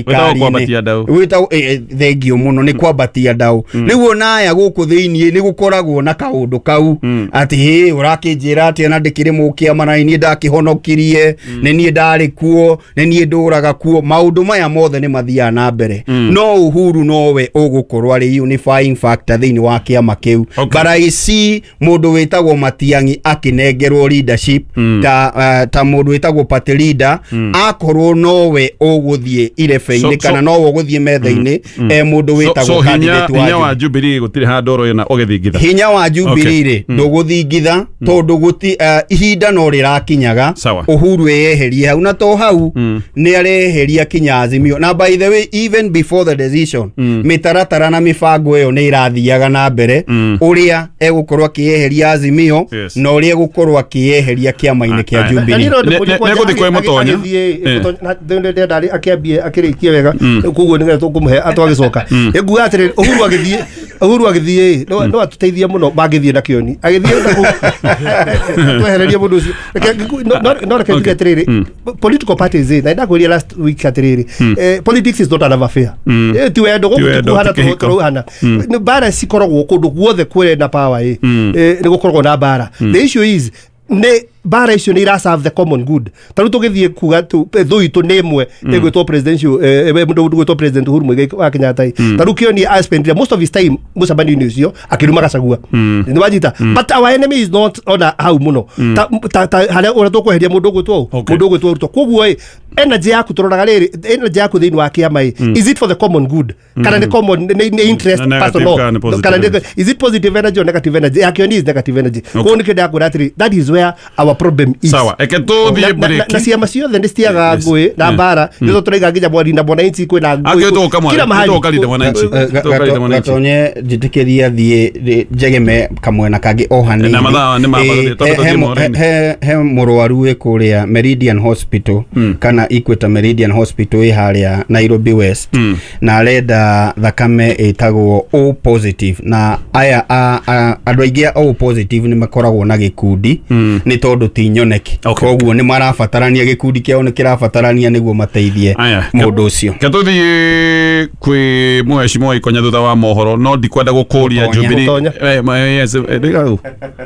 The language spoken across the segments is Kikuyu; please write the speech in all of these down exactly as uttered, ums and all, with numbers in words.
Wĩtagwo kwambatia ndau. Wĩtagwo thengio mũno nĩ kwambatia ndau. Rĩu onaya gũkũ thĩiniĩ nĩ gũkoragwo na kaũndũ kau atĩ hĩ ũrakĩnjĩra atĩ ona ndĩkĩrĩ mũkĩama na niĩ ndakĩhonokirie, nĩ niĩ ndarĩ kuo, nĩ niĩ ndũraga kuo. Maũndũ maya mothe nĩ mathiaga na mbere. No Uhuru nowe ũgũkorwo arĩ unifying factor thĩinĩ wa kĩama kĩu. But I see mũndũ wĩtagwo Matiang'i akĩnengerwo leadership ta uh, ta mũndũ wĩtagwo party leader, akorwo nowe ũgũthiĩ irebe-inĩ So- kana so- nowe ũgũthiĩ metha-inĩ e mũndũ So, wĩtagwo so hinya, candidate wa hinya wa Jubilee gũtirĩ handũ ũroĩ na ũgĩthingitha. Hinya wa Jubilee rĩ ndũgũthingitha tondũ gũti uh, ihinda no rĩrakinyaga Sawa. Uhuru eyeherie hau, na to hau nĩ areheria kinya Azimio. Na by the way, even before the decision, mĩtaratara na mĩbango ĩyo nĩ ĩrathiaga na mbere ũrĩa egũkorwo akĩyeheria Azimio Yes. na ũrĩa egũkorwo akĩyeheria kĩama-inĩ kĩa Aye. Jubilee. Ne- ne- negũthiĩ kwĩ Mũtonya. Eh. Ndĩrenda akĩambie akĩrĩkie wega, koguo nĩgetha tũkũmũhe atwagĩcoka. Ĩnguga atĩrĩrĩ, Uhuru agĩthiĩ, Uhuru agĩthiĩ no no atũteithia mũno mangĩthiĩ na kĩoni agĩthiĩ na kũu twehererie mũndũ ũcio. Reke ngĩku- no- no- no reke njuge atĩrĩrĩ, political parties ĩ, na ndakwĩrire last week atĩrĩrĩ, eh, politics is not an affair. Eh, ti wendo Ti gũkũ wendo, tikuhana ti kĩhiko. tũrauhana. Nĩ mbara cikoragwo kũndũ guothe kwĩrĩ na power ĩ, Eh, nĩ gũkoragwo na mbara. The issue is nĩ mbara icio nĩ ira serve the common good. Ta rĩu tũgĩthiĩ kuga tu thũ itũ nĩ ĩmwe ĩgwĩtwo presidential, eh, mũndũ ũgwĩtwo President Uhuru Muigai wa Kenyatta ĩ. Ta rĩu kĩoni a spend most of his time mũcemanio-inĩ ũcio akĩruma Gachagua, nĩ wanyita? But our enemy is not ona hau mũno ta ta ta harĩa ũrĩa tũkweheria mũndũ ũgwĩtwo Okay. mũndũ ũgwĩtwo Ruto. Koguo ĩ, energy yaku tũroraga rĩrĩ, energy yaku thĩinĩ wa kĩama ĩ, is it for the common good kana nĩ common nĩ nĩ interest Na negative personal kana nĩ positive kana nĩ energy? Is it positive energy or negative energy? Yakĩoni is negative energy. Koguo nĩkĩo ndakwĩra atĩrĩ, that is where our problem is. Sawa, eke tũthiĩ Na- na- na- break. Na ciama ciothe nĩ citiagaga Yes. ngũĩ na Yeah. mbara. Nĩtho tũraiga nginya mwarinda mwananchi kwĩna ngũĩ Akĩ tũka mwana- kila mahali. tũka Linda Mwananchi. Eh, ga- Tũka Linda Mwananchi. Gatonye njĩtĩkĩria thiĩ rĩ- njegeme kamwena kangĩ o hanini. Na mathaa nĩ ma- Eh, tondũ he- tũthiĩ he- mohoro-inĩ. he he mũrwaru wĩ kũrĩa Meridian Hospital kana Equator Meridian Hospital ĩ harĩa Nairobi West, na arenda thakame ĩtagwo O positive. Na aya a- a- andũ aingĩ a O positive nĩ makoragwo na gĩkundi nĩ tondũ ti nyoneki. Okay. Koguo nĩ marabatarania, gĩkundi kĩao nĩ kĩrabatarania nĩguo mateithie Aya, mũndũ ũcio. Ke tũthiĩ kwĩ mheshimiwa Ikonya thutha wa mohoro, no ndikwenda gũkũria Mũtonya. Jubilee. Mũtonya. Eh, ma- yes, eh, rĩga hau.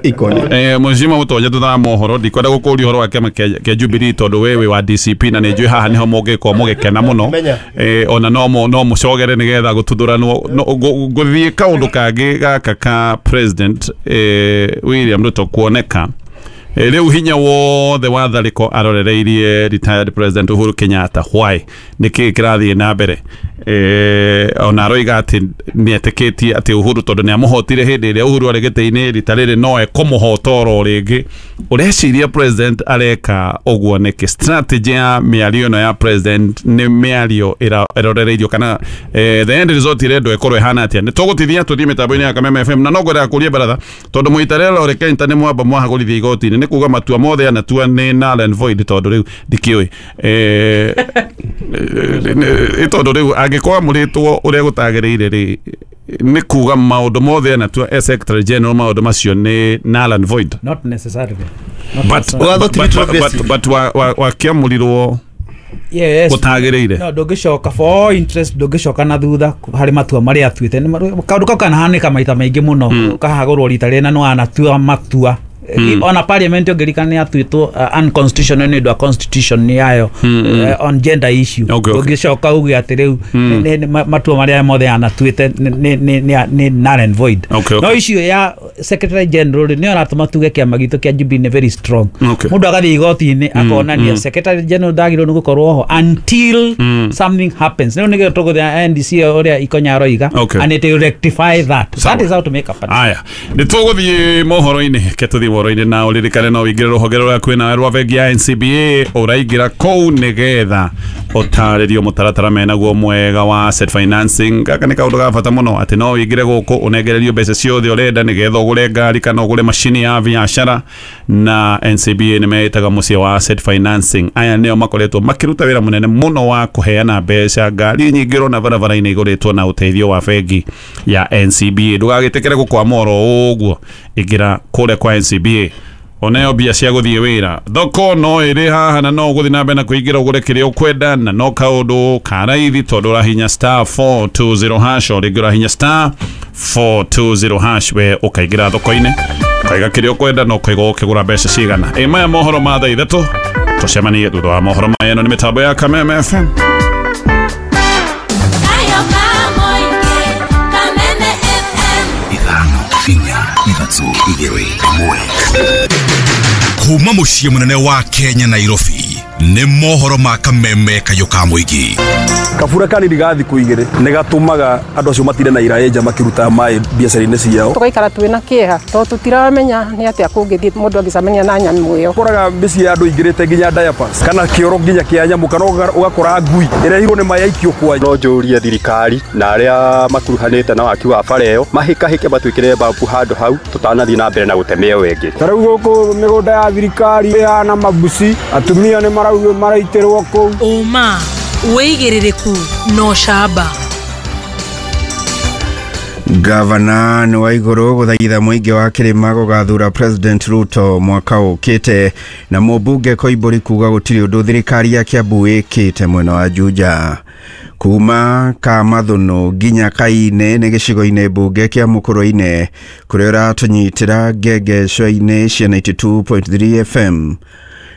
Ikonya. Eh, mheshimiwa Mũtonya, thutha wa mohoro ndikwenda gũkũria ũhoro wa kĩama kĩa kĩa Jubilee tondũ we wĩ wa D C P na nĩ njũĩ haha nĩho mũngĩkorwo mũgĩkena mũno. Menya. Eh, ona no mo- no mũcogere nĩgetha gũtuthũranwo. No, ngũ- ngũthiĩ kaũndũ kangĩ gaka ka President eh, William Ruto kuoneka. Eh, rĩu hinya wothe wa tharĩko arorereirie retired President Uhuru Kenyatta. Why? Nĩkĩ kĩrathiĩ na mbere? eh, ona aroiga atĩ nĩetĩkĩtie atĩ Uhuru, tondũ nĩ amũhotire hĩndĩ ĩrĩa Uhuru arĩ gĩtĩ-inĩ, rita rĩrĩ no ekũmũhota oro rĩngĩ. Ũreciria president areka ũguo nĩkĩ? Strategy ya mĩario ĩno ya president nĩ mĩario ĩra- ĩrorereirio kana eh, the end result ĩrendwo ĩkorwo ĩhana atĩa? Nĩ tũgũtithia tũthiĩ mĩtambo-inĩ ya Kameme F M, na no ngwendaga kũria baratha tondũ mũitarĩra Lore Kenta nĩ mwamba mwahagũrithia igoti-inĩ, nĩ kuga matua mothe anatua nĩ null and void, tondũ rĩu ndikĩũĩ eh, eh, tondũ rĩu angĩkorwo amũrĩtwo ũrĩa gũtagĩrĩire rĩ, nĩ kuga maũndũ mothe anatua as secretary general, maũndũ macio nĩ null and void? Not necessarily. Not But, necessarily. Watho but, ti but, but, retrogressive. but wa- wa- wakĩamũrirwo Yes. gũtagĩrĩire. No ndũngĩcoka for all interest, ndũngĩcoka na thutha harĩ matua marĩa atuĩte. Nĩ ma- kaũndũ kau kanahanĩka maita maingĩ mũno, kahagũrwo rita rĩrĩ na nĩwanatua matua. Ona parliament ũngĩririkana nĩ atuĩtwo uh, unconstitutional nĩ ũndũ wa constitution yayo uh, on gender issue. Okay, okay. Ndũngĩcoka uge atĩ rĩu nĩ- nĩ- ma- matua marĩa mothe anatuĩte nĩ- nĩ- nĩ nĩ- nĩ null and void. Okay, okay. No issue ya secretary general rĩ, nĩyo ĩratũma tuge kĩama gitũ kĩa Jubilee nĩ very strong. Okay. Mũndũ agathiĩ igoti-inĩ akonania secretary general ndagĩrĩirwo nĩ gũkorwo ho until something happens. Rĩu nĩkĩo tũgũthia N D C ũrĩa Ikonya aroiga Okay. and it will rectify that. Sawa. That is how to make a party. Aya, nĩ tũgũthiĩ mohoro-inĩ, ke tũthiĩ mohoro-inĩ, na ũririkane no ũingĩre rũhonge rũrĩa kwĩna rwa bengi ya N C B A. Ũraingĩra kũu nĩgetha ũtarĩrio mũtaratara menaguo mwega wa asset financing. Gaka nĩ kaũndũ ga bata mũno atĩ no ũingĩre gũkũ ũnengererio mbeca ciothe ũrenda nĩgetha ũgũre ngari kana ũgũre macini ya biacara. Na N C B A nĩ meĩtaga mũciĩ wa asset financing. Aya nĩo makoretwo makĩruta wĩra mũnene mũno wa kũheana mbeca. Ngari nyingĩ ũrona barabara-inĩ igũrĩtwo na ũteithio wa bengi ya N C B A. Ndũgagĩtĩkĩre gũkwama oro ũguo, ingĩra kũrĩa kwa N C B A. Oneo mbia cia guthie wira thoko no iri haha na no guthi na mbere na kuingira ugure kiria ukwenda na no kaundu ka raithi tondu urahinya star four two zero hash o ringi urahinya star four two zero hash we ukaingira thoko-ini ukaiga kiria ukwenda na ukaiga ukigura mbeca cigana. Ĩ maya mohoro ma thaa ithatũ, tucemanie thutha wa mohoro maya. Ĩno nĩ mĩtambo ya Kameme F M. Kuma muciĩ mũnene wa Kenya Nairobi nĩ mohoro ma Kameme kayũ ka mũingĩ. Kabura kanini ga thikũ igĩrĩ nĩ gatũmaga andũ acio matire na iraĩ nja makĩruta maĩ biacara-inĩ ciao. Tũgaikara twĩ na kĩeha tondũ tũtiramenya nĩ atĩa kũngĩthiĩ mũndũ angĩcemania na nyamũ ĩyo. Ũkoraga mĩciĩ ya andũ ingĩrĩte nginya diapers kana kĩoro nginya kĩa nyamũ kana ũgakora ngui ĩrehirwo nĩ maĩ aikio kwa. No njũrie thirikari na arĩa makuruhanĩte na waki wa bara ĩyo mahĩkahĩke matwĩkĩre babu handũ hau tũtanathiĩ na mbere na gũteme ĩyo ĩngĩ. Ta rĩu gũkũ mĩgũnda ya thirikari ĩhana mabuci, atumia nĩ maraugio maraitĩrwo kũu. Ũma wĩigĩrĩrĩku no camba. Gavana nĩ wa igũrũ gũthaitha mũingĩ wa kĩrĩma gũgathura President Ruto mwaka ũkĩte na mũmbunge Koimbũri kuga gũtirĩ ũndũ thirikari ya Kiambu ĩkĩte mwena wa Juja. Kuma Kamathũnũ nginya Kaine nĩ gĩcigo-inĩ mbunge kĩa Mũkũrwe-inĩ kũrĩa ũratũnyitĩra ngengeco-inĩ cia ninety two point three F M.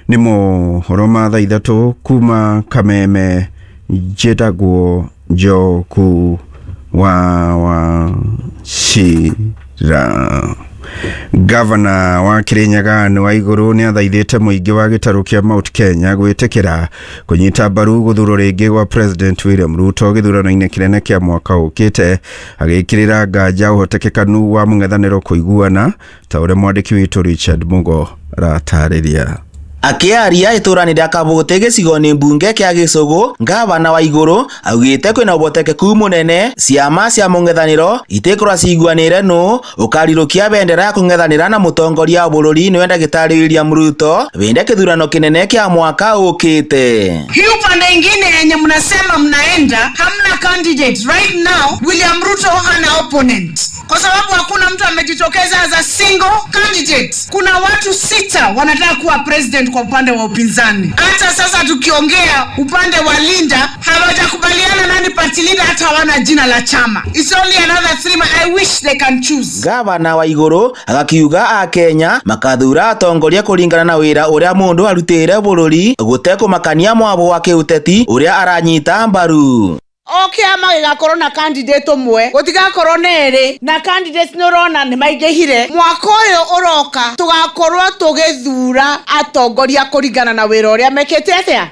Nĩ mohoro ma thaa ithatũ kuma Kameme, njĩtagwo Njoku wa wa Shira. Gavana wa Kirinyaga nĩ wa igũrũ nĩ athaithĩte mũingĩ wa gĩtarũ kĩa Mount Kenya gwĩtĩkĩra kũnyita mbaru gũthurwo rĩngĩ gwa President William Ruto gĩthurano-inĩ kĩnene kĩa mwaka ũkĩte, agĩkĩrĩra nganja ũhotekekanu wa mũng'ethanĩro kũiguana ta ũrĩa mwandĩki witũ Richard Mugo aratarĩria. Akiaria itũra-inĩ rĩa Kabũte gĩcigo-inĩ mbunge kĩa Gĩcũgũ, ngavana wa igũrũ augĩte kwĩna ũhotekeku mũnene ciama cia mũng'ethanĩro itikorwo ciguanĩire nũ ũkarirũkia bendera ya kũng'ethanĩra na mũtongoria wa bũrũri nĩwe ndagĩtarĩ William Ruto wĩnde kĩthurano kĩnene kĩa mwaka ũkĩte. Hii upande ingine yenye mnasema mnaenda hamna candidate right now. William Ruto hana opponent kwa sababu hakuna mtu amejitokeza as a single candidate. Kuna watu sita wanataka kuwa president kwa upande wa upinzani. Hata sasa tukiongea upande wa Linda hawajakubaliana nani party leader, hata hawana jina la chama. It's only another three months. I wish they can choose. Gavana wa igũrũ agakiuga a Kenya makathura atongoria kũringana na wĩra ũrĩa mũndũ arutĩire bũrũri gũtekũmakania mwabo wa kĩũteti ũrĩa aranyita mbaru. O kĩama gĩgakorwo na candidate ũmwe, gũtigakorwo na erĩ, na candidates nĩ ũrona nĩ maingĩhire. Mwaka ũyũ ũroka tũgakorwo tũgĩthura atongoria kũringana na wĩra ũrĩa mekĩte atĩa,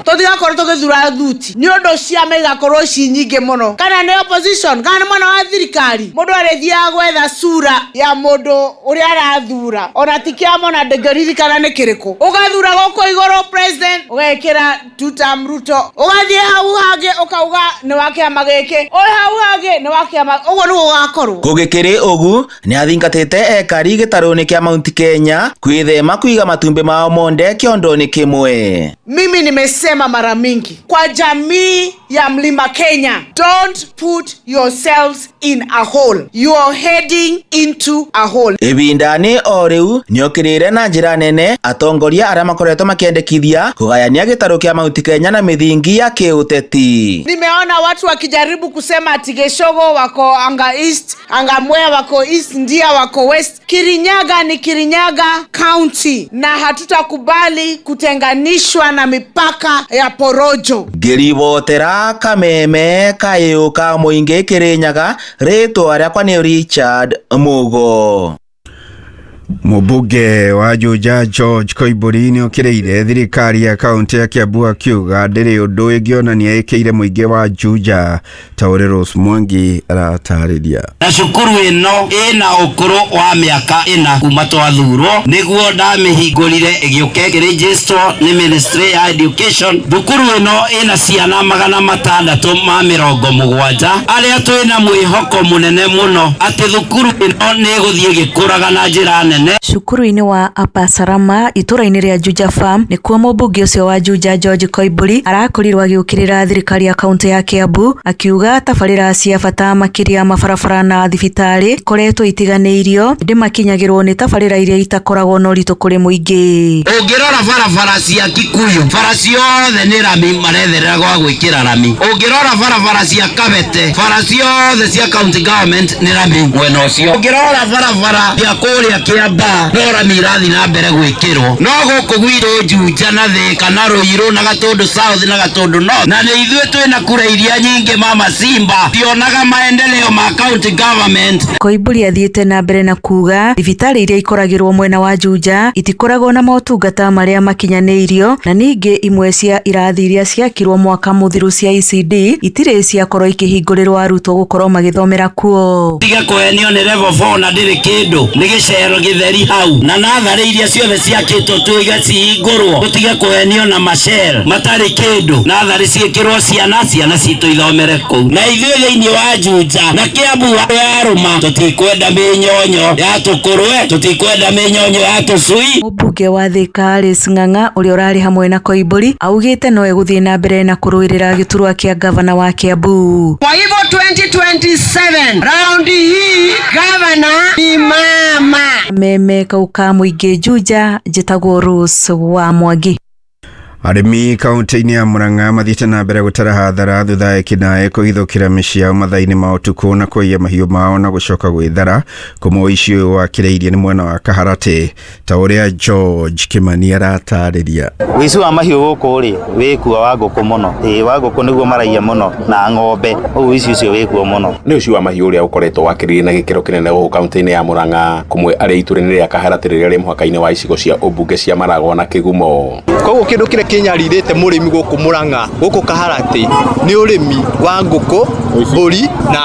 tũtigakorwo tũgĩthura thuti nĩ ũndũ ciama igakorwo ci nyingĩ mũno, kana nĩ opposition kana nĩ mwena wa thirikari. Mũndũ arĩthiaga gwetha sura ya mũndũ ũrĩa arathura, ona ti kĩama ona ndĩngĩririkana nĩ kĩrĩkũ. Ũgathura gũkũ igũrũ president ũgekĩra two term Ruto, ũgathiĩ hau hangĩ ũkauga nĩ wa kĩama gĩkĩ, ũyũ hau hangĩ nĩ wa kĩama, ũguo nĩguo gũgakorwo. Gũgĩkĩrĩ ũgu nĩ athingatĩte ekari gĩtarũ-inĩ kĩa Mount Kenya kwĩthema kũiga matumbĩ mao monde kĩondo-inĩ kĩmwe. Mimi nimesema mara mingi kwa jamii ya Mlima Kenya, don't put yourselves in a hole. You are heading into a hole. Ibindani o rĩu nĩokĩrĩire na njĩra nene atongoria arĩa makoretwo makĩendekithia kũgayania gĩtarũ kĩa Mount Kenya na mĩthingi ya kĩũteti. Nimeona watu wakijaribu kusema ati Gĩcũgũ wako anga East, anga Mwea wako East, Ndia wako West. Kirinyaga ni Kirinyaga County na hatutakubali kutenganishwa na mipaka ya porojo. Ngĩribotera Kameme kayũ ka mũingĩ Kirinyaga, rĩtwa rĩakwa nĩ Richard Mugo. Mũmbunge wa Juja George Koimbũri nĩokĩrĩire thirikari ya kaunti ya Kiambu akiuga ndĩrĩ ũndũ ĩngĩonania ĩkĩire mũingĩ wa Juja ta ũrĩa Rose Mwangi aratarĩria. Na cukuru ĩno ĩna ũkũrũ wa mĩaka ĩna kuma twathurwo nĩguo ndamĩhingũrire ĩgĩũka ĩkĩregisterwo nĩ Ministry ya Education. Thukuru ĩno ĩna ciana magana matandatũ ma mĩrongo mũgwanja arĩa twĩna mwĩhoko mũnene mũno atĩ thukuru ĩno nĩ ĩgũthiĩ ĩgĩkũraga na njĩra nene. nene. Cukuru-inĩ wa Upper Salama itũra-inĩ rĩa Juja Farm nĩkuo mũmbunge ũcio wa Juja George Koimburi arakorirwo agĩũkĩrĩra thirikari ya kaunti ya Kiambu akiuga tabarĩra cia bata makĩria mabarabara na thibitarĩ ikoretwo itiganĩirio ĩndĩ makinyagĩrwo nĩ tabarĩra iria itakoragwo na ũritũ kũrĩ mũingĩ. Ũngĩrora barabara cia Kikuyu, bara ciothe nĩ rami maretherera gwa gwĩkĩra rami. Ũngĩrora barabara cia Kabete, bara ciothe cia county government nĩ rami mwena ũcio. Ũngĩrora barabara cia kũrĩa Kiambaa, no rami irathiĩ na mbere gwĩkĩrwo. No gũkũ gwitũ Juja na Thika na Ruiru na Gatundu South na Gatundu North, na nĩ ithuĩ twĩna kura iria nyingĩ mama Simba tionaga maendeleo ma county government. Koimburi athiĩte na mbere na kuga thibitarĩ iria ikoragĩrwo mwena wa Juja itikoragwo na motungata marĩa makinyanĩirio na ningĩ imwe cia irathi iria ciakirwo mwaka mũthiru cia E C D itirĩ ciakorwo ikĩhingũrĩrwo arutwo gũkorwo magĩthomera kuo. Tiga kũhenio nĩ level four na ndĩrĩ kĩndũ, nĩ gĩcero gĩtheri hau, na natharĩ iria ciothe ciakĩtwo tuiga cihingũrwo. Tũtige kũhenio na macel matarĩ kĩndũ, natharĩ ciĩkĩrwo ciana, ciana citũ ithomere kũu. Na ithuĩ thĩinĩ wa Juja na Kiambu yarũma, tũtikwenda mĩnyonyo ya tũkũrwe, tũtikwenda mĩnyonyo ya tũcui. Mũmbunge wa Thika Alice Ng'ang'a ũrĩa ũrarĩ hamwe na Koimburi augĩte no egũthiĩ na mbere na kũrũĩrĩra gĩturwa kĩa gavana wa Kiambu. Kwa hivyo twenty twenty-seven raundi hii gavana ni mama. Meme kauka mũingĩ Juja, njĩtagwo Rose wa Mwangi. Arĩmi kaunti-inĩ ya Murang'a mathiĩte na mbere gũtara hathara thutha ya ekinaĩ kũhithũkĩra mĩciĩ yao mathaa-inĩ ma ũtukũ na kũiya mahiũ mao na gũcoka gwĩthara. Kũmwe ũici ũyũ wakĩrĩirie nĩ mwena wa Kaharatĩ, ta ũrĩa George Kimani aratarĩria. Ũici wa mahiũ gũkũ rĩ wĩkuo wa ngũkũ mũno, ĩĩ wa ngũkũ nĩguo maraiya mũno na ng'ombe, ũguo ũici ũcio wĩkuo mũno. Nĩ ũici wa mahiũ ũrĩa ũkoretwo wakĩrĩirie na gĩkĩro kĩnene gũkũ kaunti-inĩ ya Murang'a, kũmwe arĩ itũra-inĩ rĩa Kaharatĩ rĩrĩa rĩ mũhaka-inĩ wa icigo cia ũmbunge cia Maragwa na Kĩgumo. Koguo kĩndũ kĩrĩa kĩnyarirĩte mũrĩmi gũkũ Murang'a gũkũ Kaharatĩ nĩ ũrĩmi wa ngũkũ, mbũri na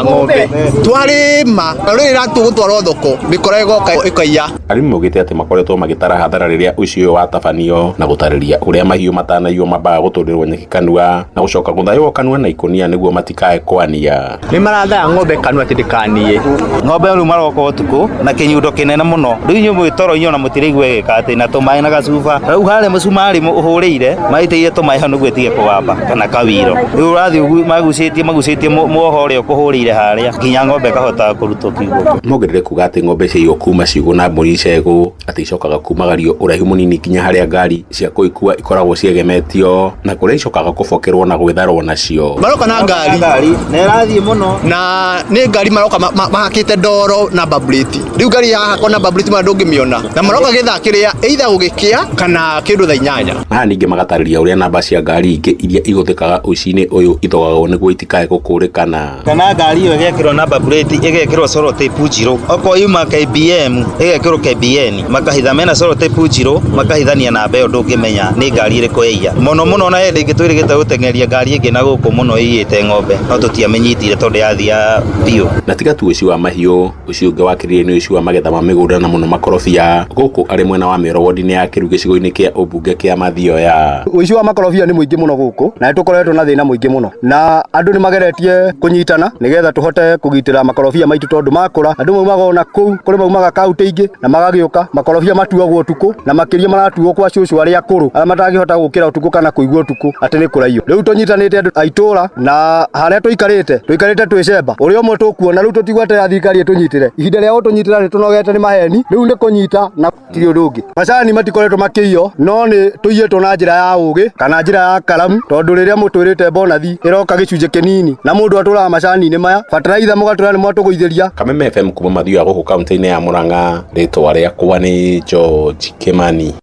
ng'ombe. Twarĩma rĩrĩa tũgũtwarwo thoko mĩkora ĩgoka ĩkaiya. Arĩmi maugĩte atĩ makoretwo magĩtara hathara rĩrĩa ũici ũyũ watabanio na gũtarĩria ũrĩa mahiũ matanaiywo mambaga gũtũrĩrwo nyeki kanua na gũcoka gũthaywo kanua na ikũnia nĩguo matikae kwania. Nĩ marathaya ng'ombe kanua atĩ ndĩkanie. Ng'ombe rĩu maroka ũtukũ na kĩnyundo kĩnene mũno, rĩu inyuĩ mwĩ toro inyuĩ ona mũtiraigua ĩgĩka atĩ na tũmaĩ na gacuba. Rĩu harĩa mũcumarĩ ũhũrĩire maitĩire tũmaĩ hau nĩguo ĩtige kũgamba kana kawiro. Rĩu ũrathiĩ magucĩtie magucĩtie muoho ũrĩa ũkũhũrĩire harĩa nginya ng'ombe ĩkahota kũrutwo kiugũ. Mongerere kuga atĩ ng'ombe ciaiywo kuma ciugũ na mbũri icegũ atĩ icokaga kumagario ũraihu mũnini nginya harĩa ngari cia kũikua ikoragwo ciegemetio na kũrĩa icokaga kũbokerwo na gwĩtharwo nacio. Maroka na ngari na ĩrathiĩ mũno, na nĩ ngari maroka mahakĩte ndoro na baburĩti. Rĩu ngari yahakwo na baburĩti ma ndũngĩmĩona, na maroka gĩthaa kĩrĩa either gũgĩkĩa kana kĩndũ thaa inyanya. Haha ningĩ magatarĩria ũrĩa namba cia ngari ingĩ iria ihũthĩkaga ũici-inĩ ũyũ ithogagwo nĩguo itikae gũkũrĩkana. Kana ngari ĩyo ĩgekĩrwo namba plate ĩgekĩrwo sellotape njirũ, okorwo yuma K B M ĩgekĩrwo K B N, makahitha mena sellotape njirũ makahithania namba ĩyo ndũngĩmenya nĩ ngari ĩrĩkũ ĩiya. Mũno mũno ona hĩndĩ ĩngĩ twĩrĩgĩte gũteng'eria ngari ĩngĩ na gũkũ mũno ĩiyĩte ng'ombe no tũtiamenyitire tondũ yathia biũ. Na tiga tu ũici wa mahiũ, ũici ũngĩ wakĩrĩirie nĩ ũici wa magetha ma mĩgũnda na mũno makorobia gũkũ arĩ mwena wa Mĩoro wodi-inĩ ya Kĩru gĩcigo-inĩ kĩa ũmbunge kĩa Mathioya. Ũici wa makorobia nĩ mũingĩ mũno gũkũ na nĩtũkoretwo na thĩna mũingĩ mũno, na andũ nĩ mageretie kũnyitana nĩgetha tũhote kũgitĩra makorobia maitũ tondũ makũra andũ maumaga ona kũu kũrĩ maumaga kaunti ingĩ na magagĩũka. Makorobia matuagwo ũtukũ na makĩria maratuo kwa cũcũ arĩa akũrũ arĩa matangĩhota gũkĩra ũtukũ kana kũigua ũtukũ atĩ nĩ kũraiywo. Rĩu tũnyitanĩte andũ a itũra na harĩa tũikarĩte tũikarĩte twĩcemba ũrĩa ũmwe tũkuona rĩu tũtigweterera thirikari ĩtũnyitĩre. Ihinda rĩa gũtũnyitĩra nĩ tũnogete nĩ maheni, rĩu nĩ kũnyita na tirĩ ũndũ ũngĩ. Macani matikoretwo makĩiywo no nĩ tũiyĩtwo na njĩra ya ũgĩ kana njĩra ya karamu, tondũ rĩrĩa mũtwĩrĩte bonathi ĩroka gĩcunjĩ kĩnini na mũndũ atũraga macani-inĩ maya bataraitha mũgatũra nĩ mwatũgũithĩria. Kameme F M kuma Mathioya gũkũ kaunti-inĩ ya Murang'a, rĩtwa rĩakwa nĩ George Kimani.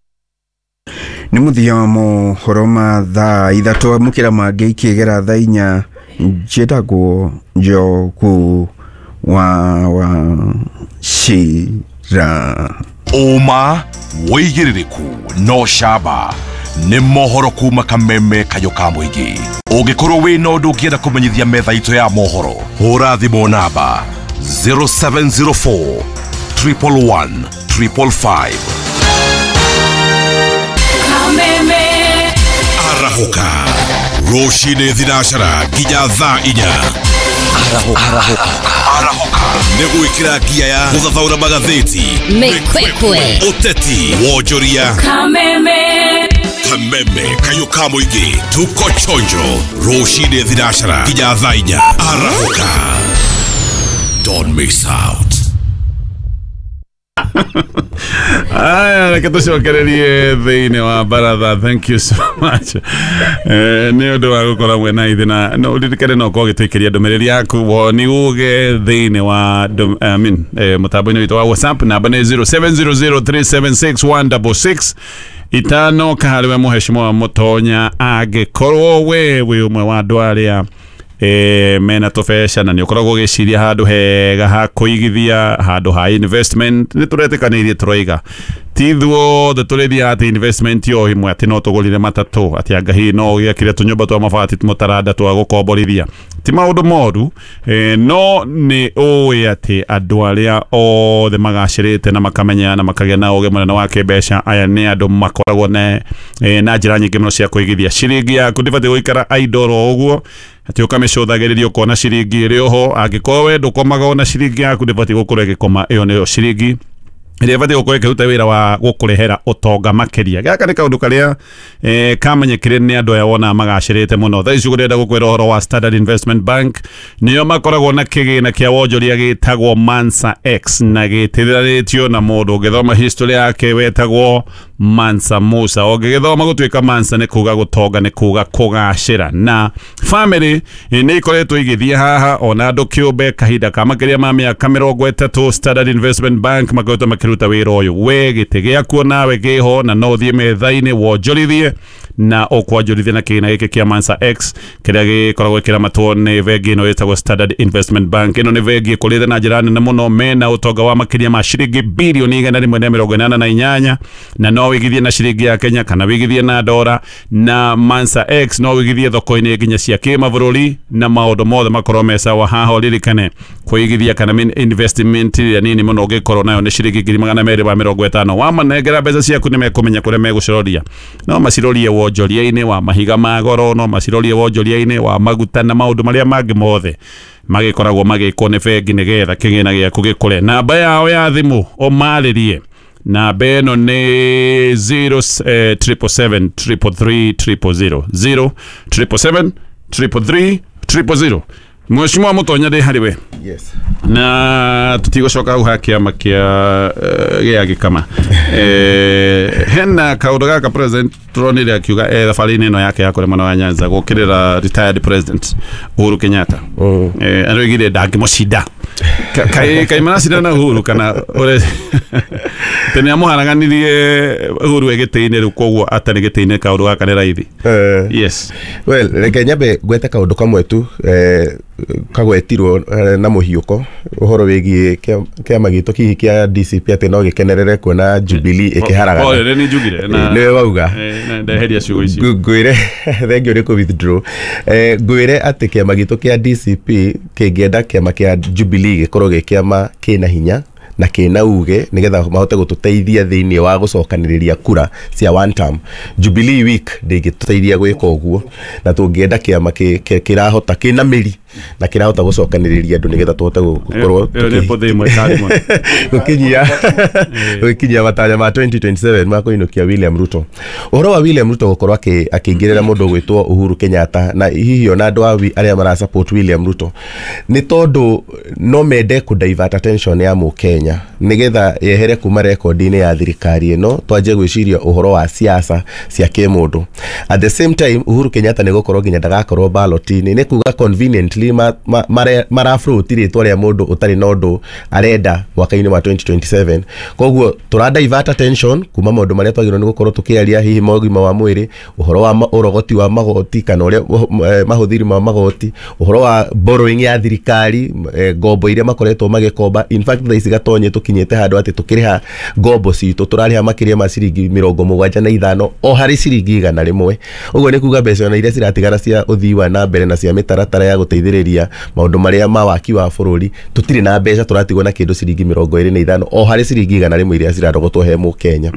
Nĩ mũthia wa mohoro ma thaa ithatũ amũkĩra mangĩ ikĩgera thaa inya. Njĩtagwo Njogu wa wa Shira. Ũma wĩigĩrĩrĩku no camba nĩ mohoro kuma Kameme kayũ ka mũingĩ. Ũngĩkorwo wĩna ũndũ ũngĩenda kũmenyithia metha itũ ya mohoro, hũra thimũ namba zero seven zero four triple one triple five. Kameme Arahũka rũcinĩ thinacara nginya thaa inya. Arahũka. Arahũka. Arahũka nĩ gwĩkĩra ngia ya gũthathaũra magathĩti, Mĩkwekwe. Ũteti, wonjoria, Kameme. Kameme kayũ ka mũingĩ. Tuko chonjo rũcinĩ thinacara nginya thaa inya. Arahũka, don't miss out. Aya, reke tũcokererie thĩinĩ wa baratha. Thank you so much eh, nĩ ũndũ wa gũkorwo mwena ithe na no ũririkane no ũkorwo ũgĩtũikĩria ndũmĩrĩri yaku woni uge thĩinĩ wa ndũ- I mean, eh, mũtambo-inĩ witũ wa WhatsApp. Namba nĩ zero seven zero zero three seven six one double six itano. Kaharĩ we mũheshimiwa Mũtonya, angĩkorwo we wĩ ũmwe wa andũ arĩa eh, mena tũbeca na nĩ ũkoragwo ũgĩciria handũ hega ha kũigithia, handũ ha investment, nĩ tũretĩkanĩirie tũroiga ti ithuothe tũrĩthiaga atĩ investment yo ĩmwe atĩ no tũgũrire matatũ, atĩ anga hihi no ũgĩakire tũnyũmba twa mabati mũtaranda twa gũkomborithia. Ti maũndũ moru, eh, no nĩ ũĩ atĩ andũ arĩa othe magacĩrĩte na makamenya na makagĩa na ũgĩ mũnene wa kĩmbeca, aya nĩ andũ makoragwo na, eh, na njĩra nyingĩ mũno cia kũigithia. Ciringi yaku ndĩbatiĩ gũikara idle oro ũguo atĩ ũkamĩcũthagĩrĩria ũkona ciringi ĩrĩ oho. Angĩkorwo we ndũkomaga ona ciringi yaku ndĩbatiĩ gũkorwo ĩgĩkoma, ĩyo nĩyo ciringi ĩrĩa ĩbatiĩ gũkorwo ĩkĩruta wĩra wa gũkũrehera ũtonga makĩria. Gaka nĩ kaũndũ karĩa eh, kamenyekire nĩ andũ aya wonaga magacĩrĩte mũno. Thaa ici ũrenda gũkwĩra ũhoro wa Standard Investment Bank, nĩo makoragwo na kĩgĩna kĩa wonjoria gĩtagwo Mansa X na gĩtĩranĩtio na mũndũ ũngĩthoma history yake wetagwo Mansa Musa. Ũngĩgĩthoma gũtuĩka Mansa nĩ kuga gũtonga, nĩ kuga kũgacĩra. Na family eh, nĩ ikoretwo igĩthiĩ haha ona andũ kĩũmbe kahinda ka makĩria ma mĩaka mĩrongo ĩtatũ. Standard Investment Bank makoretwo makĩruta wĩra ũyũ. We gĩtĩ gĩakuo nawe kĩho na no ũthiĩ metha-inĩ wonjorithie na ũkwanjorithia na kĩgĩna gĩkĩ kĩa Mansa X kĩrĩa gĩkoragwo kĩramatwo nĩ bengi ĩno ĩtagwo Standard Investment Bank. Ĩno nĩ bengi ĩkũrĩte na njĩra nene mũno, mena ũtonga wa makĩria ma ciringi birioni igana rĩmwe na mĩrongo ĩnana na inyanya, na no wĩigithie na ciringi ya Kenya kana wĩigithie na dora. Na Mansa X no wĩigithie thoko-inĩ nginya cia kĩmabũrũri na maũndũ mothe makorwo me sawa. Haha ũririkane kũigithia kana min- investment ĩrĩa nini mũno ũngĩkorwo nayo nĩ ciringi ngiri magana merĩ ma mĩrongo ĩtano. Wamanengera mbeca ciaku nĩ mekũmenya kũrĩa megũciroria. No macirorie wonjoria-inĩ wa mahiga ma goro, no macirorie wonjoria-inĩ wa maguta na maũndũ marĩa mangĩ mothe magĩkoragwo magĩkwo nĩ bengi nĩgetha kĩgĩna gĩaku gĩkũre. Namba yao ya thimũ ũmarĩrie, namba ĩno nĩ zero triple seven triple three triple zero, zero triple seven triple three triple zero. Mheshimiwa Mũtonya, ndĩ harĩ we. Yes. Na tũtigũcoka hau ha kĩama kĩa eh, gĩa gĩkama. Eh, hena kaũndũ gaka president tũronire akiuga eh, thabarĩ-inĩ ĩno yake ya kũrĩa mwena wa Nyanza gũkĩrĩra retired president Uhuru Kenyatta. Eh, aroigire ndangĩmũcinda. Ka- kaĩ kaĩ maracindana na Uhuru kana ũrĩa tene amũharaganirie Uhuru e gĩtĩ-inĩ, rĩu koguo atarĩ gĩtĩ-inĩ kaũndũ gaka nĩ raithi. Yes. Well, reke nyambe ngwete kaũndũ kamwe tu eh, kagwetirwo eh, na mũhiũko ũhoro wĩgiĩ kĩa- kĩama gitũ hihi kĩa D C P atĩ no gĩkenerere kuona Jubilee ĩkĩharagana. Oh, nĩ njugire na Nĩwe wauga. Eh, na ndeheria ciugo icio. Ngũ- ngwĩre thengio nĩ kũ withdraw. Eh, ngwĩre atĩ kĩama gitũ kĩa D C P kĩngĩenda kĩama kĩa Jubilee gĩkorwo gĩ kĩama kĩna hinya na kĩna uge nĩgetha mahote gũtũteithia thĩinĩ wa gũcokanĩrĩria kura cia one term. Jubilee week ndĩngĩtũteithia gwĩka ũguo, na tũngĩenda kĩama kĩ- kĩ- kĩrahota kĩna mĩri na kĩrahota gũcokanĩrĩria andũ nĩgetha tũhote gũkorwo Ĩyo nĩ bũthĩ ĩmwe kari mũno. gũkinyia gũkinyia matanya ma twenty twenty-seven ma kũinũkia William Ruto. Ũhoro wa William Ruto gũkorwo akĩ- akĩingĩrĩra mũndũ ũgwĩtwo Uhuru Kenyatta na hihi ona andũ a wi- arĩa mara support William Ruto nĩ tondũ no mende kũ divert attention ya mũkenya nĩgetha yehere kuma rekondi-inĩ ya thirikari ĩno twanjie gwĩciria ũhoro wa siasa cia kĩmũndũ. At the same time Uhuru Kenyatta nĩ gũkorwo nginya ndagakorwo ballot-inĩ, nĩ kuga conveniently ma, ma, mare- marafloat rĩtwa rĩa mũndũ ũtarĩ na ũndũ arenda mwaka-inĩ wa twenty twenty-seven. Koguo tũra divert attention kuma maũndũ marĩa twagĩrĩirwo nĩ gũkorwo tũkĩaria, hihi ma ũgima wa mwĩrĩ, ũhoro wa ma-, ũrogoti wa magoti kana ũrĩa ũh-, eh, mahũthĩri ma magoti, ũhoro wa borrowing ya thirikari, eh, ngombo iria makoretwo magĩkomba. In fact thaa ici Gatonye tũkinyĩte handũ atĩ tũkĩrĩha ngombo citũ tũrarĩha makĩria ma ciringi mĩrongo mũgwanja na ithano o harĩ ciringi igana rĩmwe. Ũguo nĩ kuga mbeca ona iria ciratigara cia ũthii wa na mbere na cia mĩtaratara ya gũteithĩrĩria gũteithĩrĩria maũndũ marĩa ma waki wa bũrũri tũtirĩ na mbeca tũratigwo na kĩndũ ciringi mĩrongo ĩrĩ na ithano o harĩ ciringi igana rĩmwe iria cirarogotwo he mũkenya.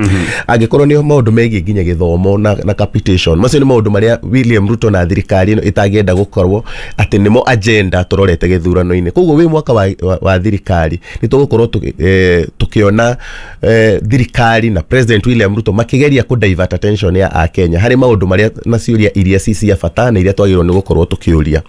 Angĩkorwo nĩ maũndũ megiĩ nginya gĩthomo na, na capitation, macio nĩ maũndũ marĩa William Ruto na thirikari ĩno ĩtangĩenda gũkorwo atĩ nĩmo agenda tũrorete gĩthurano-inĩ. Koguo wĩ mwaka wa, wa, wa thirikari nĩ tũgũkorwo eh, tũkĩona eh, thirikari na President William Ruto makĩgeria kũ divert attention ya akenya harĩ maũndũ marĩa na ciũria iria ci cia bata na iria twagĩrĩirwo nĩ gũkorwo tũkĩũria.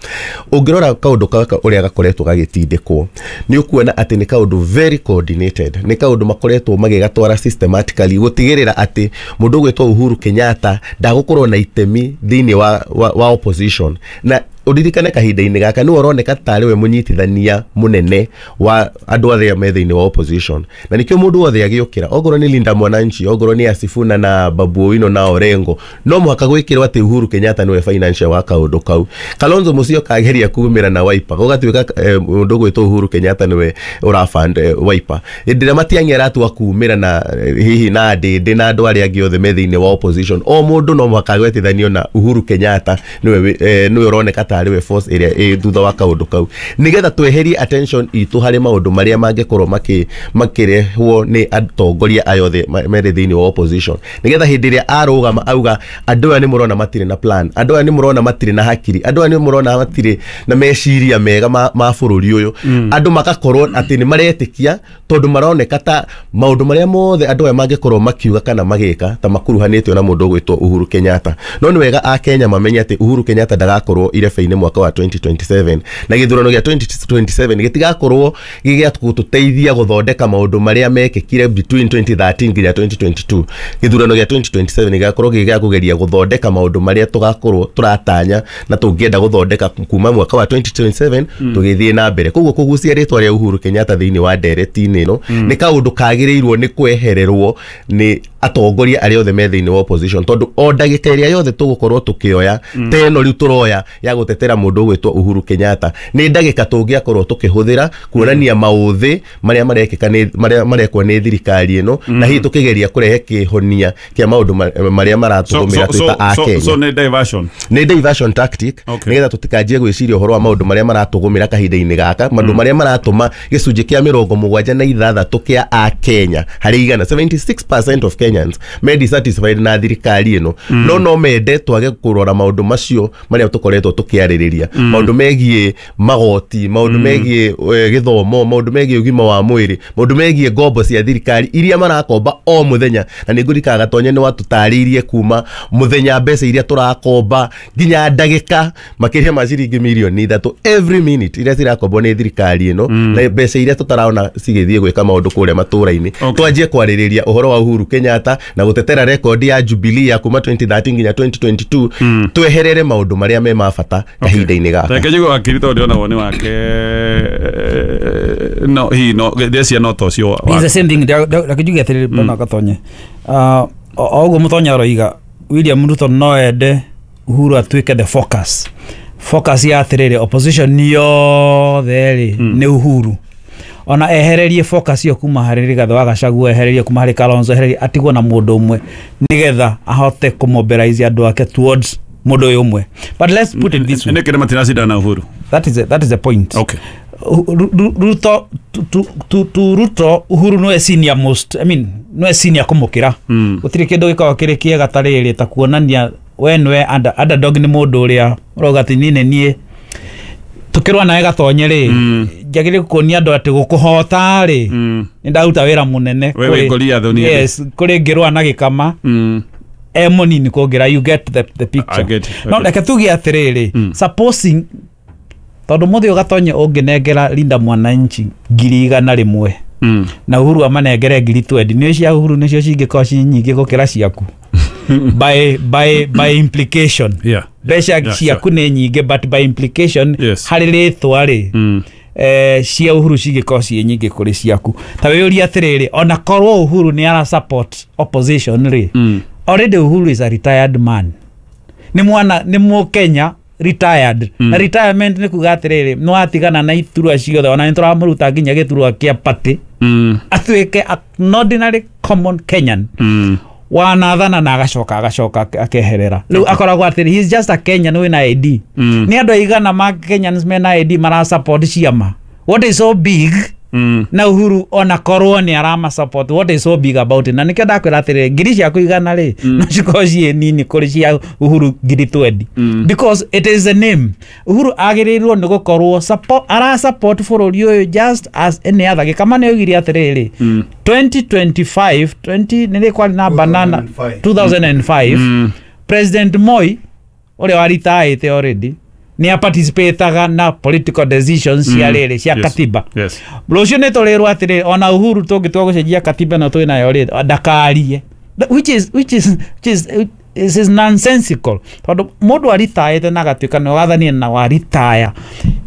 Ũngĩrora kaũndũ gaka ũrĩa gakoretwo gagĩtindĩkwo nĩ ũkuona atĩ nĩ kaũndũ very coordinated, nĩ kaũndũ makoretwo magĩgatwara systematically gũtigĩrĩra atĩ mũndũ ũgwĩtwo Uhuru Kenyatta ndagũkorwo na itemi thĩinĩ wa, wa, wa opposition. Na uririkane kahinda-inĩ gaka nĩwe ũroneka tarĩ we mũnyitithania mũnene wa andũ arĩa me thĩinĩ wa opposition, na nĩkĩo mũndũ wothe agĩũkĩra ongorwo nĩ Linda Mwananchi, ongorwo nĩ Asifuna na Babu Owino na Orengo, no mũhaka gwĩkĩrwo atĩ Uhuru Kenyatta nĩwe financial wa kaũndũ kau. Kalonzo Musyoka ageria kumĩra na Wiper gũgatuĩka mũndũ ũgwĩtwo Uhuru Kenyatta nĩwe ũrafund Wiper. Hĩndĩ ĩrĩa Matiang'i aratua kumĩra na hihi na Ndĩndĩ na andũ arĩa angĩ othe me thĩinĩ wa opposition, o mũndũ no mũhaka agwetithanio na Uhuru Kenyatta nĩwe nĩwe ũroneka tarĩ force ĩrĩa ĩ thutha wa kaũndũ kau, nĩgetha tweherie attention itũ harĩ maũndũ marĩa mangĩkorwo makĩ makĩrehwo nĩ atongoria aya othe merĩ thĩinĩ wa opposition, nĩgetha hĩndĩ ĩrĩa arũgama auga andũ aya nĩ mũrona matirĩ na plan, andũ aya nĩ mũrona matirĩ na hakiri, andũ aya nĩ mũrona matirĩ na meciria mega ma, ma bũrũri ũyũ, andũ magakorwo atĩ nĩ maretĩkia tondũ maroneka ta maũndũ marĩa mothe andũ aya mangĩkorwo makiuga kana magĩka ta makuruhanĩtio na mũndũ ũgwĩtwo Uhuru Kenyatta. No nĩ wega akenya mamenye atĩ Uhuru Kenyatta ndagakorwo irebe mwaka wa twenty twenty-seven, na gĩthurano gĩa twenty twenty-seven gĩtigakorwo gĩgĩa gũtũteithia gũthondeka maũndũ marĩa mekĩkire between twenty thirteen nginya twenty twenty-two. Gĩthurano gĩa twenty twenty-seven gĩgakorwo gĩgĩa kũgeria gũthondeka maũndũ marĩa tũgakorwo tũratanya na tũngĩenda gũthondeka kuma mwaka wa twenty twenty-seven tũgĩthiĩ na mbere. Koguo kũgucia rĩtwa rĩa Uhuru Kenyatta thĩinĩ wa ndereti-inĩ ĩno nĩ kaũndũ kagĩrĩirwo nĩ kwehererwo nĩ atongoria arĩa othe me thĩinĩ wa opposition, tondũ o ndagĩka ĩrĩa yothe tũgũkorwo tũkĩoya ta ĩno rĩu tũroya ya gũtetera mũndũ ũgwĩtwo Uhuru Kenyatta nĩ ndagĩka tũngĩakorwo tũkĩhũthĩra kuonania maũthĩ marĩa marekĩka nĩ marĩa marekwo nĩ thirikari ĩno, na hihi tũkĩgeria kũrehe kĩhonia kĩa maũndũ marĩa maratũgũmĩra twĩ ta Akenya. So nĩ diversion, nĩ diversion tactic, nĩgetha tũtikanjie gwĩciria ũhoro wa maũndũ marĩa maratũgũmĩra kahinda-inĩ gaka, maũndũ marĩa maratũma gĩcunjĩ kĩa mĩrongo mũgwanja na ithathatũ kĩa Akenya harĩ igana seventy-six percent of Kenyans me dissatisfied na thirikari ĩno, no no mende twage kũrora maũndũ macio marĩa tũkoretwo tũkĩarĩrĩria, maũndũ megiĩ magoti, maũndũ megiĩ gĩthomo, maũndũ megiĩ ũgima wa mwĩrĩ, maũndũ megiĩ ngombo cia thirikari iria marakomba o mũthenya. Na nĩ ngũrikaga Gatonye nĩ watũtarĩirie kuma mũthenya mbeca iria tũrakomba nginya ndagĩka makĩria ma ciringi mirioni ithatũ every minute iria cirakombwo nĩ thirikari ĩno, na mbeca iria tũtarona cigĩthiĩ gwĩka maũndũ kũrĩa matũra-inĩ. Twanjie kwarĩrĩria ũhoro wa Uhuru Kenyatta na gũtetera rekondi ya Jubilee ya kuma twenty thirteen nginya twenty twenty-two, tweherere maũndũ marĩa me ma bata kahinda-inĩ gaka. Reke njigue wakiri tondũ ndĩrona woni wake no hihi no ndĩreciria no ta ũcio. It's the same thing. Reke njuge atĩrĩrĩ bwana Gatonye, o ũguo Mũtonya aroiga William Ruto no ende Uhuru atuĩke the focus focus ya atĩrĩrĩ opposition yothe rĩ nĩ Uhuru, ona ehererie focus iyo kuma harĩ Rigathĩ wa Gachagua, ehererie kuma harĩ Kalonzo, ehererie atigwo na mũndũ ũmwe nĩgetha ahote kũmobilize andũ ake towards mũndũ ũyũ ũmwe. But let's put it this way, nĩkĩ nĩ matiracindana Uhuru? That is a, that is the point. Okay. Ruto to to to Ruto Uhuru no senior most, I mean no senior kũmũkĩra. Gũtirĩ kĩndũ gĩkoragwo kĩrĩ kĩega ta rĩrĩ ta kuonania we nĩwe underdog nĩ mũndũ ũrĩa ũrauga atĩ niĩ nĩ niĩ tukirwa nawe Gatonye rĩ njagĩrĩire kuonia andũ atĩ gũkũhota rĩ nĩ ndaruta wĩra mũnene. Yes, kũrĩ ngĩrũa na gĩkama e mũnini kũngĩra, you get the, the picture. No reke tuge atĩrĩrĩ, supposing tondũ mũthĩ ũyũ Gatonye ũngĩnengera Linda Mwananchi ngiri igana rĩmwe na Uhuru amanengere ngiri twendi, nĩ cia Uhuru nĩcio cingĩkorwo ci nyingĩ gũkĩra ciaku by by by implication. Yeah. Mbeca ciaku nĩ nyingĩ but by implication harĩ rĩtwa rĩ eh cia Uhuru cingĩkorwo ciĩ nyingĩ kũrĩ ciaku. Ta wĩyũrie atĩrĩrĩ, ona korwo Uhuru nĩ ara support opposition rĩ, already Uhuru is a retired man, nĩ mwana nĩ mũkenya retired. Mm. Na retirement nĩ kuga atĩrĩrĩ no atigana na iturwa ciothe, ona nĩ tũramũruta nginya gĩturwa kĩa party, mm. atuĩke an ordinary common Kenyan. Mm. Wanathana na agacoka agacoka akeherera. Rĩu akoragwo atĩrĩ, he is just a Kenyan wĩna I D. Mm. Nĩ andũ aigana ma Kenyans mena I D mara support ciama? What is so big? Mm. Na Uhuru ona korwo nĩ arama support, what is so big about it? Na nĩkĩo ndakwĩra atĩrĩrĩ, ngiri ciaku igana rĩ, no cikorwo ciĩ nini kũrĩ cia Uhuru ngiri twenty. Mm. Because it is a name. Uhuru agĩrĩirwo nĩ gũkorwo support, ara support bũrũri ũyũ just as any other. Gĩkama nĩ oigire atĩrĩrĩ, Mm. twenty twenty-five, twenty nĩ kwarĩ na banana two thousand and five, Mm. President Moi ũrĩa waritaĩte already nĩ aparticipataga na political decisions cia Mm. rĩrĩ cia Yes. katiba. Yes. Rũciũ nĩ tũrĩrwo atĩrĩrĩ, ona Uhuru tũngĩtua gũcenjia katiba ĩno twĩ nayo rĩ, ndakarie. Which is, which is, which is, this is nonsensical. Tondũ mũndũ aritaĩte na agatuĩka nĩ wathanire na waritaya,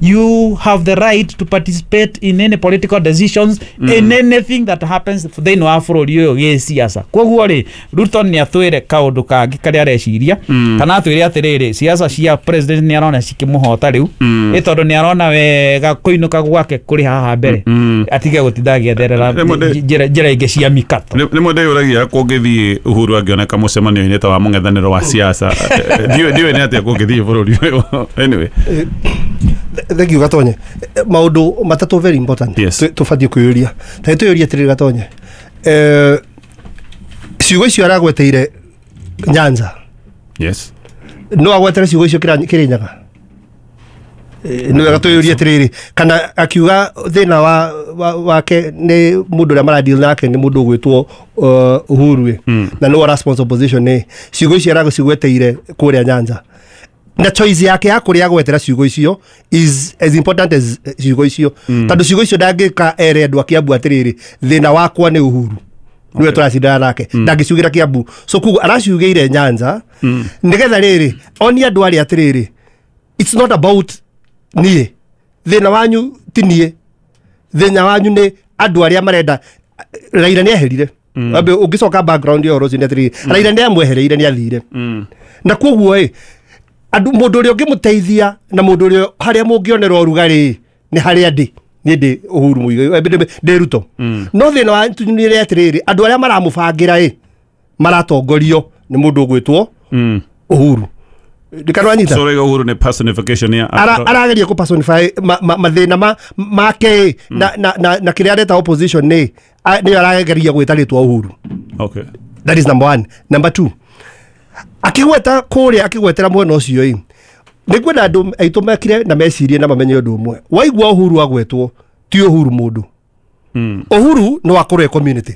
you have the right to participate in any political decisions, Mm. in anything that happens thĩinĩ wa bũrũri ũyũ gĩciaca. Koguo rĩ, Ruto nĩ atwĩre kaũndũ kangĩ karĩa areciria, Mm. kana atwĩre atĩrĩrĩ, siasa cia president nĩ arona cikĩmũhota rĩu, Mm. ĩ tondũ nĩ arona wega kũinũka gwake kũrĩ haha mbere, Mm. atige gũtinda agĩetherera Rĩmwe ndĩ- njĩra njĩra ingĩ cia mikato. Rĩmwe ndĩyũragia kũngĩthiĩ Uhuru angĩoneka mũcemanio-inĩ ta wa mũng'ethanĩro wa siasa, ndiũĩ ndiũĩ nĩ atĩa kũngĩthiĩ bũrũri ũyũ. Anyway. Thank you Gatonye. Maũndũ matatũ very important. Yes. Tũbatiĩ kwĩyũria. Ta twĩyũrie atĩrĩrĩ Gatonye. Eh, ciugo icio aragweteire Nyanza. Yes. No agwetere ciugo icio Kĩrĩnyaga. Nĩ wega twĩyũrie atĩrĩrĩ, kana akiuga thĩna wa wake nĩ mũndũ ũrĩa maradeal nake nĩ mũndũ ũgwĩtwo Uhuru ĩ, na nĩwe ũra sponsor opposition ĩ, ciugo icio aragũcigweteire kũrĩa Nyanza. Na choice yake ya kũrĩa agwetera ciugo icio is as important as ciugo icio, tondũ ciugo icio ndangĩka ere andũ a Kiambu atĩrĩrĩ, thĩna wakwa nĩ Uhuru niwe tũracindana nake, ndangĩciugĩra Kiambu. So koguo araciugĩire Nyanza nĩgetha rĩrĩ onie andũ arĩa atĩrĩrĩ, it's not about niĩ, thĩna wanyu ti niĩ, thĩna wanyu nĩ andũ arĩa marenda. Raila nĩ eherire. Ũngĩcoka background ya ũhoro ũcio nĩ atĩrĩrĩ, Raila nĩ amwehereire, nĩ athire. Na koguo ĩ, andũ mũndũ ũrĩa ũngĩmũteithia na mũndũ ũrĩa harĩa mũngĩonera ũrugarĩ nĩ harĩa ndĩ, niĩ ndĩ Uhuru Muigai, ndĩ Ruto. No thĩna wa nĩ atĩrĩrĩ, andũ arĩa maramũbangĩra ĩ maratongorio nĩ mũndũ ũgwĩtwo Uhuru. Ndikanwanyita. So rĩu Uhuru nĩ personification ya arageria kũ personify mathĩna ma make na na na kĩrĩa areta opposition nĩ nĩyo arageria gwĩta rĩtwa Uhuru. Okay. That is number one. Number two, akigweta kũrĩa akigwetera mwena ũcio ĩ, nĩngwenda andũ aitũ mekire na mecirie na mamenye ũndũ ũmwe. Waigua Uhuru agwetwo ti Uhuru mũndũ. Uhuru no akorwo e community.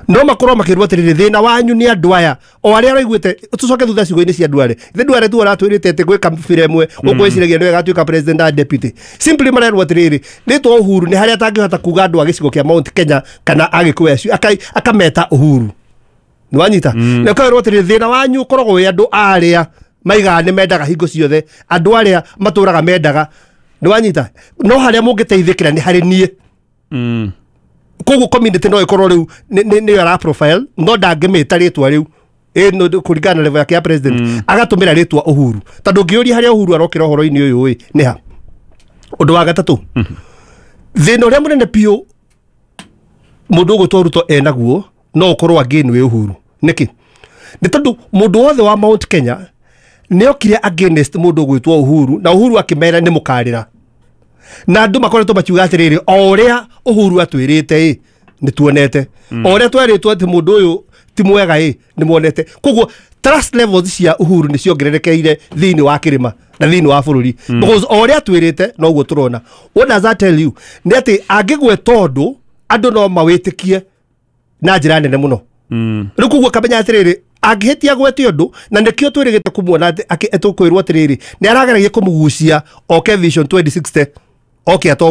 No makorwo makĩrwo atĩrĩrĩ, thĩna wanyu nĩ andũ aya o arĩa araiguĩte. Tũcoke thutha ciugo-inĩ cia andũ arĩa ithe andũ arĩa tu aratwĩrĩte atĩ gwĩ kabira ĩmwe ũkwĩciragia nĩwe gatuĩka president na deputy. Simply marerwo atĩrĩrĩ, rĩtwa Uhuru nĩ harĩa atangĩhota kuga andũ a gĩcigo kĩa Mount Kenya kana Agĩkũyũ acio akameta Uhuru. Nĩ wanyita? Na ũkerwo atĩrĩrĩ, thĩna wanyu ũkoragwo wĩ andũ arĩa maigaga nĩ mendaga hingo ciothe, andũ arĩa matũraga mendaga. Nĩ wanyita? No harĩa mũngĩteithĩkĩra nĩ harĩ niĩ. Koguo community no ĩkorwo rĩu nĩyo ara profile, no ndangĩmĩta rĩtwa rĩu ĩ kũringana na level yake ya president, agatũmĩra rĩtwa Uhuru. Tondũ ũngĩũria harĩa Uhuru arokĩra ũhoro-inĩ ũyũ ĩ nĩ ha. Ũndũ wa gatatũ, thĩna ũrĩa mũnene biũ mũndũ ũgwĩtwo Ruto enaguo no ũkorwo again wĩ Uhuru. Nĩkĩ? Nĩ tondũ mũndũ wothe wa Mount Kenya nĩokire against mũndũ ũgwĩtwo Uhuru, na Uhuru akĩmera nĩ mũkarĩra. Na andũ makoretwo makiuga atĩrĩrĩ, o ũrĩa Uhuru atwĩrĩte ĩ nĩ tuonete, o ũrĩa twerĩtwo atĩ mũndũ ũyũ ti mwega ĩ nĩ muonete. Koguo trust levels cia Uhuru nĩ ciongererekeire thĩinĩ wa kĩrĩma na thĩinĩ wa bũrũri, because o ũrĩa atwĩrĩte noguo tũrona. What does that tell you? Nĩ atĩ angĩgweta ũndũ andũ no mawĩtĩkie na njĩra nene mũno. Rĩu koguo kamenya atĩrĩrĩ, angĩhĩtia gwete ũndũ, na nĩkĩo twĩrĩgĩte kũmuona atĩ tũkwĩrwo atĩrĩrĩ nĩ arageragia kũmũgucia oke Vision twenty sixty oke atongorie.